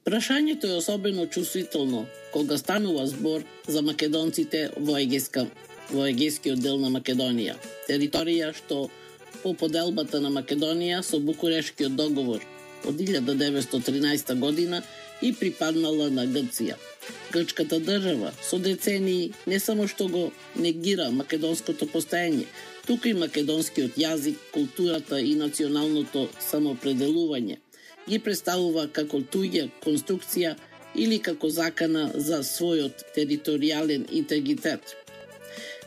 Прашањето е особено чувствително кога станува збор за македонците во Егејскиот дел на Македонија, територија што по поделбата на Македонија со Букурешкиот договор од 1913 година и припаднала на Грција. Грчката држава со децении не само што го негира македонското постоење, туку и македонскиот јазик, културата и националното самоопределување ги представува како туѓа конструкција или како закана за својот територијален интегритет.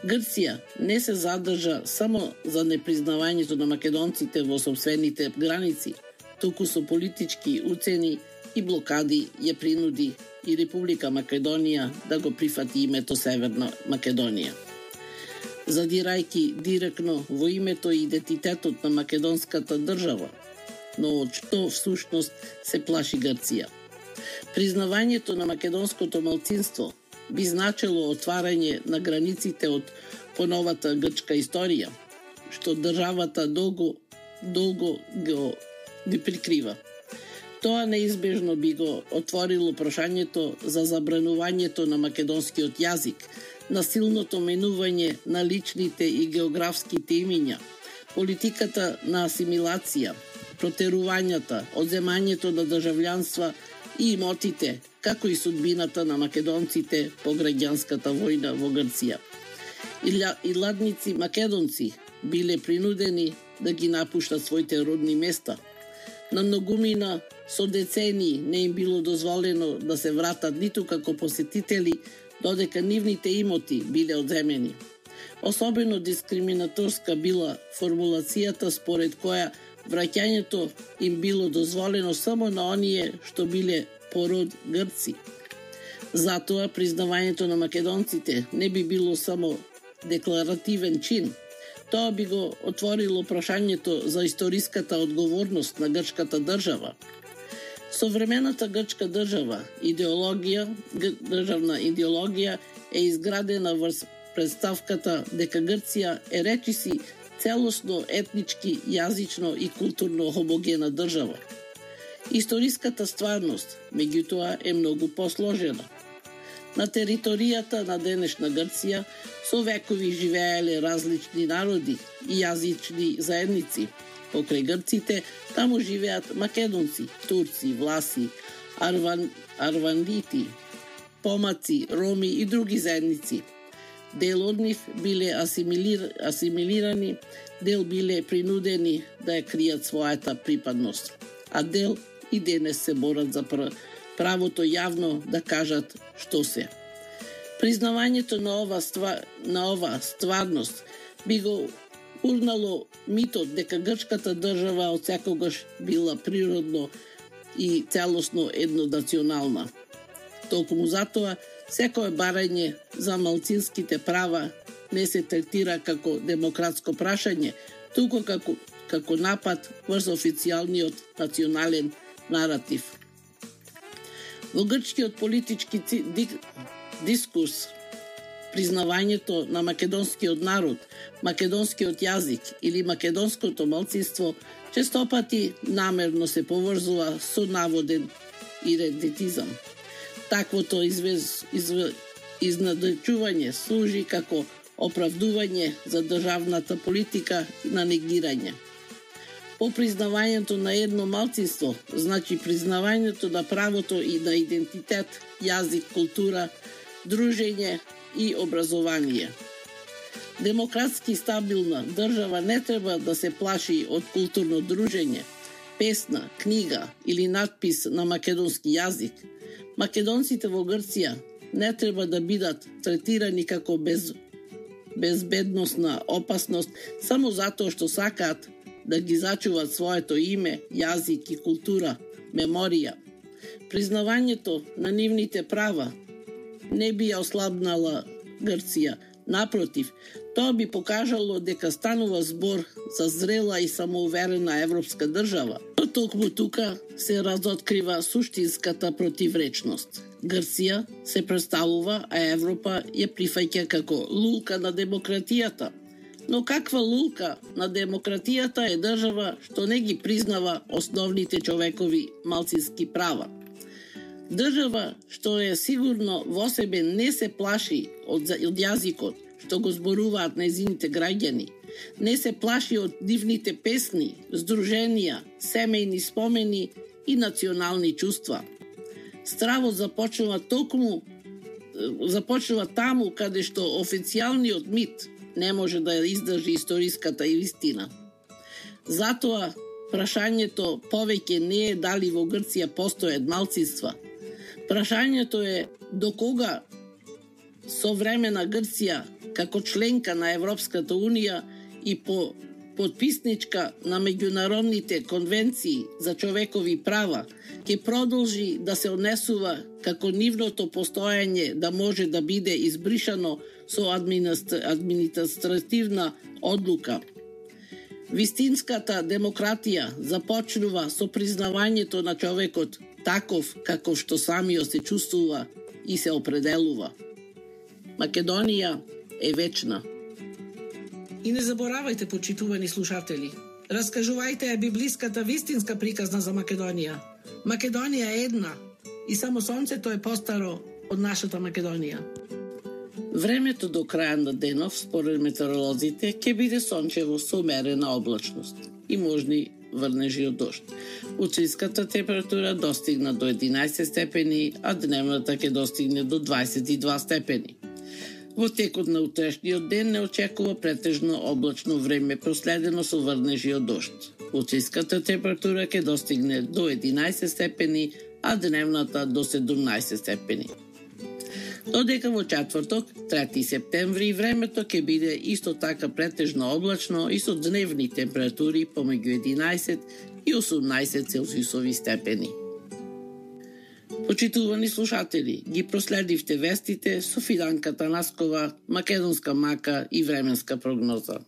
Грција не се задржа само за непризнавањето на македонците во сопствените граници, туку со политички уцени и блокади ја принуди и Република Македонија да го прифати името Северна Македонија. Задирајќи директно во името и идентитетот на македонската држава, но од што всушност се плаши Грција. Признавањето на македонското малцинство би значило отварање на границите од поновата грчка историја, што државата долго ги прикрива. Тоа неизбежно би го отворило прашањето за забранувањето на македонскиот јазик, насилното менување на личните и географските имиња, политиката на асимилација, протерувањата, одземањето на државјанства и имотите, како и судбината на македонците по граѓанската војна во Грција. Идладници македонци биле принудени да ги напуштат своите родни места. На многумина со децении не им било дозволено да се вратат ниту како посетители, додека нивните имоти биле одземени. Особено дискриминаторска била формулацијата според која враќањето им било дозволено само на оние што биле пород грци. Затоа признавањето на македонците не би било само декларативен чин. Тоа би го отворило прашањето за историската одговорност на грчката држава. Современата грчка државна идеологија е изградена врз представката дека Грција е речиси целосно етнички, јазично и културно хомогена држава. Историската стварност, меѓутоа, е многу посложена. На територијата на денешна Грција со векови живееле различни народи и јазични заедници. Покрај грците, таму живеат македонци, турци, власи, арвандити, помаци, роми и други заедници. Дел од нив биле асимилирани, дел биле принудени да ја кријат својата припадност, а дел и денес се борат за правото јавно да кажат што се. Признавањето на ова стварност би го урнало митот дека грчката држава од секогаш била природно и целосно еднонационална. Токму затоа, секое барање за малцинските права не се третира како демократско прашање, туку како напад врз официјалниот национален наратив. Во грчкиот политички дискурс, признавањето на македонскиот народ, македонскиот јазик или македонското малцинство честопати намерно се поврзува со наводен идентитизам. Таквото изнадечување служи како оправдување за државната политика на негирање. По признавањето на едно малцинство, значи признавањето на правото и на идентитет, јазик, култура, дружење и образование. Демократски стабилна држава не треба да се плаши од културно дружење, песна, книга или надпис на македонски јазик. Македонците во Грција не треба да бидат третирани како безбедносна опасност само затоа што сакаат да ги зачуваат своето име, јазик и култура, меморија. Признавањето на нивните права не би ја ослабнала Грција. Напротив, тоа би покажало дека станува збор за зрела и самоуверена европска држава. Но токму тука се разоткрива суштинската противречност. Грција се представува, а Европа ја прифаќа како лулка на демократијата. Но каква лулка на демократијата е држава што не ги признава основните човекови малцински права? Држава што е сигурно во себе не се плаши од јазикот што го зборуваат нејзините граѓани, не се плаши од дивните песни, здруженија, семејни спомени и национални чувства. Стравот започнува таму каде што официјалниот мит не може да издржи историската истина. Затоа прашањето повеќе не е дали во Грција постојат малцинства. Прашањето е до кога современа Грција како членка на Европската Унија и по подписничка на меѓународните конвенции за човекови права ќе продолжи да се однесува како нивното постоење да може да биде избришано со административна одлука. Вистинската демократија започнува со признавањето на човекот таков како што самиот се чувствува и се определува. Македонија е вечна. И не заборавајте, почитувани слушатели, раскажувајте ја библиската вистинска приказна за Македонија. Македонија е една и само сонцето е постаро од нашата Македонија. Времето до крај на денов, според метеоролозите, ќе биде сончево со умерена облачност и можни врнежи од дожд. Утрешката температура достигна до 11 степени, а дневната ќе достигне до 22 степени. Во текот на утрешниот ден не очекува претежно облачно време, проследено со врнежи од дожд. Утрешката температура ќе достигне до 11 степени, а дневната до 17 степени. Додека во четврток, 3 септември, времето ќе биде исто така претежно облачно и со дневни температури помеѓу 11 и 18 целзиусови степени. Почитувани слушатели, ги проследивте вестите со Фиданка Танаскова, македонска мака и временска прогноза.